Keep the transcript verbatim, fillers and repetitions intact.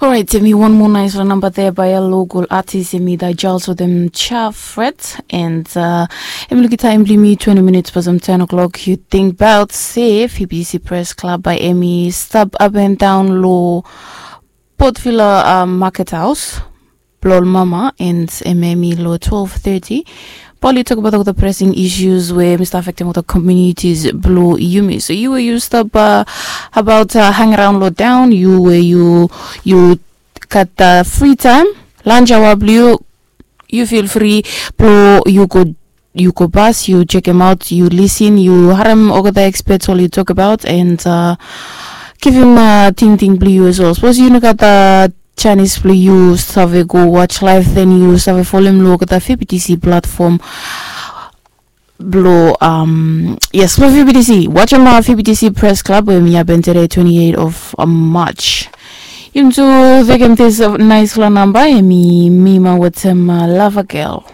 Orait, em i wan moa nais long namba de bai a lokal atis, em i da jals wetem chafret. And uh, em i lukim taim blong mi twenty minutes pasam ten o'clock. Yu ting baot se fbc press club bai em i stap up and down lo portvilla uh, market house blong ol mama, and em em i lo twelve thirty. Bali yu tokbaot olgeta pressing issues we mi stap afektim olgeta communities blong yumi. So yu we yu stap uh, about uh, hang around lo down, yu we yu yu gat uh, free time, lunch hour blong yu, yu feel free blong yu go yu go bas, yu chekem aot, yu lisin, yu harem olgeta experts oli tokbaot, and uh, givim uh, tingting blong yu as well. Sapos yu no gat uh, chanis blong yu save go watch live, then yu save folem long olgeta fbtc platform blong um, yes, blong fbtc. Watchem uh, fbtc press club we mi hapen today, twenty-eight of uh, march. Yum tu vekem this uh, nice long namba, em i mi ma wetem uh, lava girl.